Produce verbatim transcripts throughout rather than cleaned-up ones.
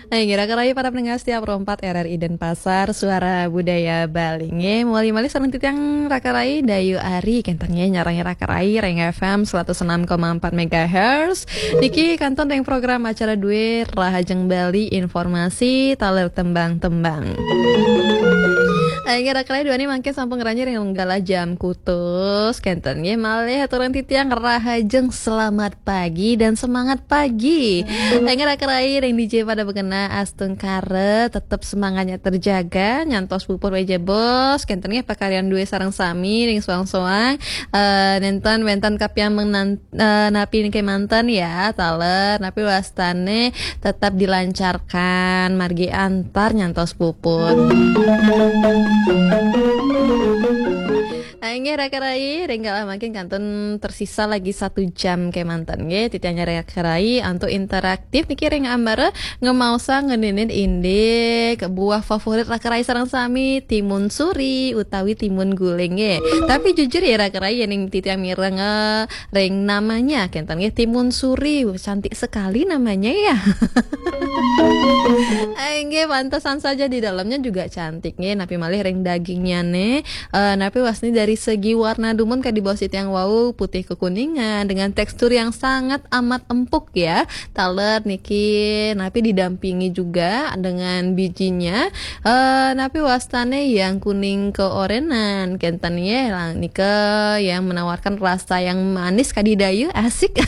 Hai, Raka Rai, para pendengar setiap Pro empat R R I Denpasar, Suara Budaya Bali. Nggih, mawali malih sareng titiang Raka Rai, Dayu Ari, kenten nggih, nyarengi Raka Rai, ring F M seratus enam koma empat megahertz. Niki kantun ring program acara duwe Rahajeng Bali, informasi taler tembang-tembang. Hai, Raka Rai, duaning mangkin sampun ngranjing ring galah jam kutus, kenten nggih, malih aturang titiang Rahajeng selamat pagi dan semangat pagi. Ring Raka Rai, ring D J pada bekena astungkara, tetep semangatnya terjaga, nyantos puput wejebos, kenten nggih pakaryan duwe sareng sami, ring soang-soang, eh, nenten wenten kapian mengan-, eh, napi niki manten ya, taler, napi wastane tetap dilancarkan, margi antar nyantos puput. Ah, inggih, Raka Rai, ring galah mangkin kantun tersisa lagi satu jam kemanten, nggih. Titiang nyarengin Raka Rai antuk interaktif niki ring ambara ngemaosang ngeninin indik buah favorit Raka Rai sareng sami, timun suri utawi timun guling, nggih. Tapi jujur ya, Raka Rai, yening titiang mireng, eh, ring namanya, kenten nggih, timun suri, cantik sekali namanya ya. Ah, inggih, pantesan saja di dalamnya juga cantik nggih, napi malih ring dagingnya nih. Eh, napi wasni dari segi warna dumun kadi baos titiang wau, putih kekuningan dengan tekstur yang sangat amat empuk ya. Taler niki napi didampingi juga dengan bijinya. Eh, napi wastane yang kuning keorenan, kenten nggih, lang-, nika yang menawarkan rasa yang manis kadi dayu, asik.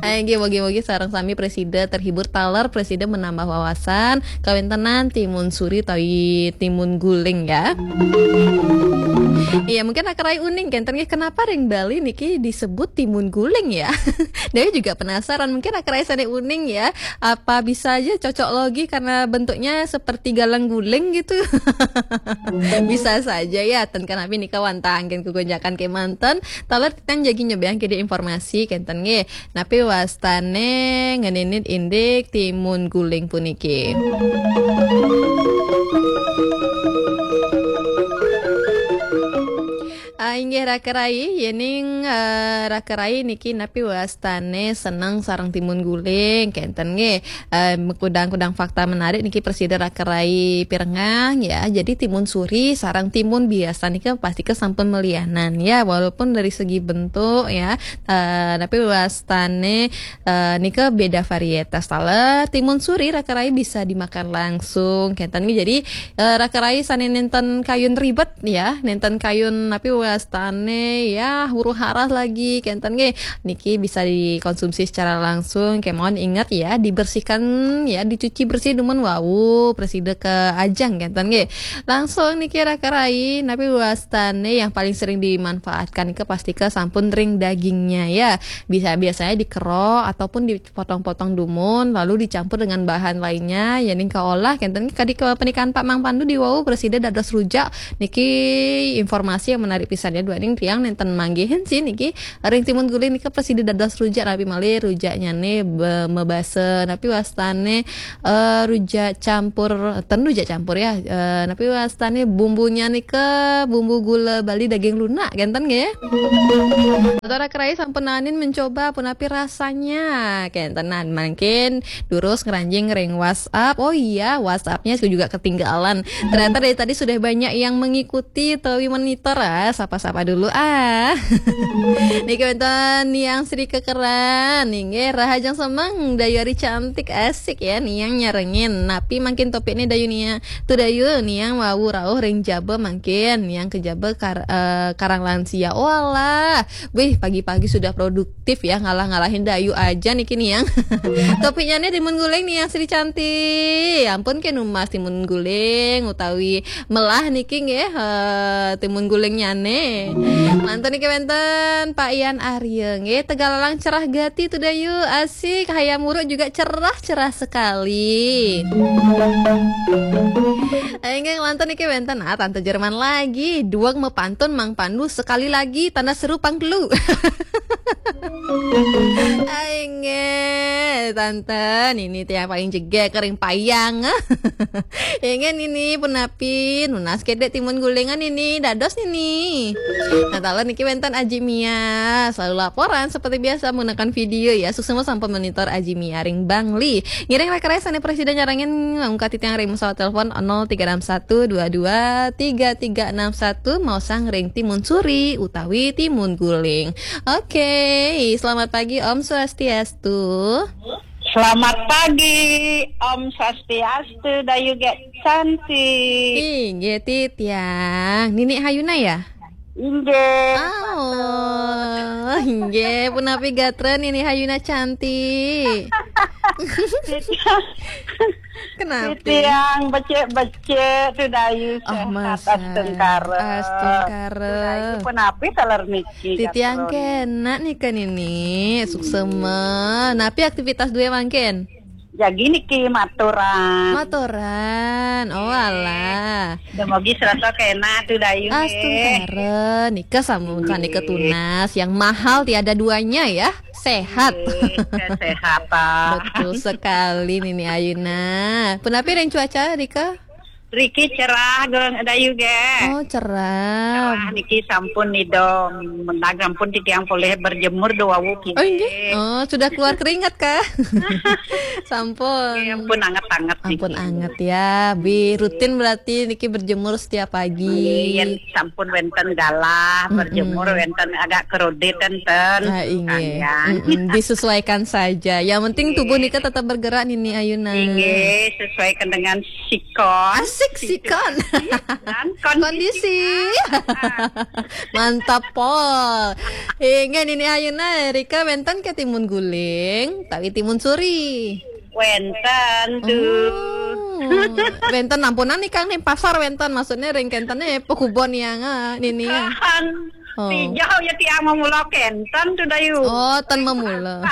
Ah, inggih, mogi-mogi sareng sami presida terhibur, taler presida menambah wawasan kawentenan timun suri utawi timun guling ya. Iya, mungkin Raka Rai uning kenten nggih, kenapa ring Bali niki disebut timun guling ya? Dayu juga penasaran, mungkin Raka Rai sane uning ya. Apa bisa aja cocok logi karena bentuknya seperti galang guling gitu? Bisa saja ya, ten kanapi nika wantah anggen kegonjakan kemanten. Taler titiang jagi nyobiahang kede informasi kenten nggih. Napi wastane ngeninit indik timun guling puniki? Ah, inggih, Raka Rai, yening, eh, Raka Rai niki napi wastane seneng sareng timun guling, kenten nggih. Eh, kudang-kudang fakta menarik niki presida Raka Rai pirengang ya. Jadi timun suri sareng timun biasa nika pasti kesampun melianan ya, walaupun dari segi bentuk ya, eh, napi wastane, eh, nika beda varietas. Taler timun suri Raka Rai bisa dimakan langsung, kenten nggih. Jadi, eh, Raka Rai sane nenten kayun ribet ya, nenten kayun napi wastane ya, huru-hara lagi, kenten nggih. Niki bisa dikonsumsi secara langsung, kemawon ingat ya, dibersihkan ya, dicuci bersih dumun wau, presida kaajeng, kenten nggih. Langsung niki Raka Rai, napi wastane yang paling sering dimanfaatkan nika pasti kesampun ring dagingnya ya. Bisa, biasanya dikerok ataupun dipotong-potong dumun, lalu dicampur dengan bahan lainnya, yening kaolah, kenten nggih, kadi kepernikahan Pak Mang Pandu di wau, presida dados rujak. Niki informasi yang menarik pisan ya, duaning tiang nenten manggihin sih niki. Ring timun guling nika presida dados rujak, napi malih rujaknyane be-, mebasa, napi wastane, eh, rujak campur, ten rujak campur ya, eh, napi wastane bumbunya nika bumbu gula Bali daging lunak, kenten nggih. Atau Raka Rai sampun nanin mencoba punapi rasanya, kentenan mangkin durus ngranjing ring WhatsApp. Oh iya, WhatsApp-nya juga ketinggalan. Ternyata dari tadi sudah banyak yang mengikuti utawi monitor, ah. Sapa-sapa dulu, ah. Niki wenten Niang Sri Kekeran, inggih, rahajeng semeng, Dayu Ari cantik, asik ya, Niang nyarengin. Napi mangkin topiknya Dayu Niang? Tu Dayu, Niang wau rauh ring jaba mangkin, Niang ke jaba kar-, eh, karang lansia. Walah, wih, pagi-pagi sudah produktif ya, ngalah-ngalahin Dayu aja niki Niang. Topiknya nih timun guling Niang Sri cantik. Ampun ke numbas timun guling utawi melah niki nggih, eh, timun gulingnyane. Mantun niki wenten Pak Ian Arya nggih, Tegallalang cerah gati tu Dayu, asik, hayam wuruk juga cerah-cerah sekali. Inggih, mantun niki wenten, ah, Tante Jerman lagi, duweg mepantun Mang Pandu sekali lagi, tanda seru pang telu. Inggih, Tante, nini tiang paling jegeg kering payang. Inggih, nini punapi, nunas kedek timun gulingan nini, dados nini. Nah, taler niki wénten Aji Mia, selalu laporan seperti biasa menggunakan video ya. Suksma sampun monitor Aji Mia ring Bangli. Ngiring rekan-rekan sané prasida nyarengin, mangkin titiang ring pesawat telepon nol tiga enam satu dua dua tiga tiga enam satu, maosang ring Timun Suri utawi Timun Guling. Oke, selamat pagi, Om Swastiastu. Selamat pagi, Om Swastiastu, Dayu Gek Cantik. Inggih, titiang. Nini Hayuna ya? Inggih. Oh, inggih, punapi gatra Nini Hayuna cantik. Kenapa? Titiang becik-becik tu Dayu. Oh, sehat masa. Astungkara. Astungkara. Tu Dayu punapi taler niki? Titiang gatra niki. Kénak nika Nini, suksma. Napi aktivitas dué mangkin? Jagi niki maturan. Maturan. Oh, alah. Dumogi sareng kénak tu Dayu nggih. Astungkara, nika sampun nika tunas. Yang mahal tiada duanya ya, sehat. Nggih, kesehatan. Betul sekali Nini Hayuna. Punapi ring cuaca nika? Riki cerah, Dayu nggih. Oh, cerah. Cerah niki sampun nidom. Mendag sampun titiang polih berjemur duwau kini. Oh, inggih. Oh, sudah keluar keringat kah? Sampun. Nggih, ampun anget-anget niki. Ampun anget ya. Bi rutin berarti niki berjemur setiap pagi. Nggih, yén sampun wénten galah, berjemur wénten agak kerodit ten. Ah, inggih. Kanggiang. Mm-mm, disesuaikan saja. Yang penting tubuh nika tetap bergerak Nini Hayuna. Inggih, sesuaikan dengan sikon. Asik sikon. Dan kondisi. Kondisi. Mantap pol. Inggih Nini Hayuna, rika wénten ké Timun Guling, utawi Timun Suri? Wénten tu. Oh. Wénten ampunang nika ning pasar wénten, maksudnya ring kénten né pakubon yang, ah, Nini ya. Kan. Oh. Tijau ya tiang mamula kénten tu Dayu. Oh, ten mamula.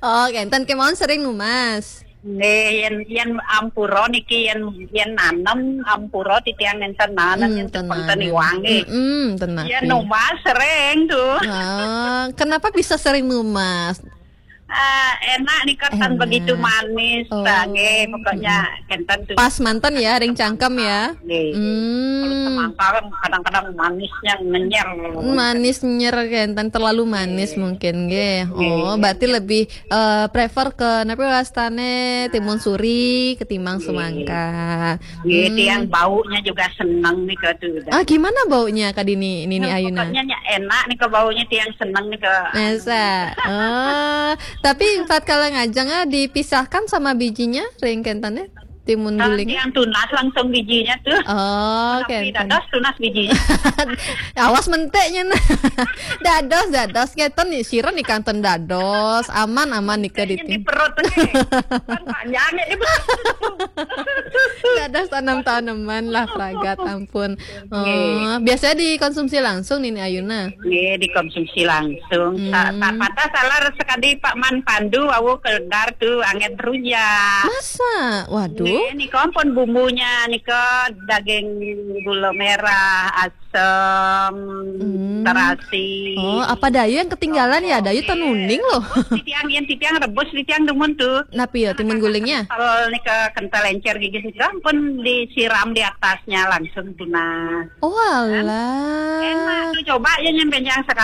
Oh, kénten kémaon sering numas. Nggih, yén, yén ampura niki, yén, yén nanem ampura titiang nénten nanem, hmm, yén ten nanem. Iwang nggih. Mm-mm, ten. Yén napi. Numas sering tu. Ah, kenapa bisa sering numas? Ah, enak nih, ketan. Enak. Begitu manis. Oh. Nggih, pokoknya, mm-mm, kénten tu. Pas manten ya, ring cangkem ya. Nggih. Hmm. Kalau semangka kan kadang-kadang manisnya ngenyer. Manis nyer kénten, terlalu manis mungkin nggih. Nggih. Oh, berarti lebih, eh, prefer ke napi wastané timun suri ketimbang semangka. Nggih, hmm, tiang baunya juga seneng nika tu. Ah, gimana baunya, Kak Dini, Nini Ayuna? Pokoknya nya enak nika baunya, tiang seneng nika. Masa? Oh, tapi tatkala ngajeng, ah, dipisahkan sama bijinya, ring kénten? Timun guling. Tiang tunas langsung bijinya tu. Oh, tapi kénten. Dados tunas bijinya. Awas menteknya nah. Dados, dados kénten nih, sira nika ten dados. Aman, aman nika. Menteknya di perut nih. Kan panjangnya di perut. Dados tanam-tanaman lah, pragat, ampun. Oh, nggih. Biasanya dikonsumsi langsung Nini Ayuna? Nggih, dikonsumsi langsung. Hmm. Sa-, sa-, patah salah sekali Pak Man Pandu, wau keledar tu anget rujak. Masa? Waduh. Nggih, nika ampun bumbunya, nika daging gula merah, asem, hmm, terasi. Oh, apa Dayu yang ketinggalan ya? Dayu ten uning loh. Titiang, yén titiang rebus, titiang dumun tu. Napi ya, timun gulingnya? Kental nika, kental encer gigi sudah pun disiram di atasnya langsung tunas. Oh, alah. Enak tu, coba ya nyampe yang sekali.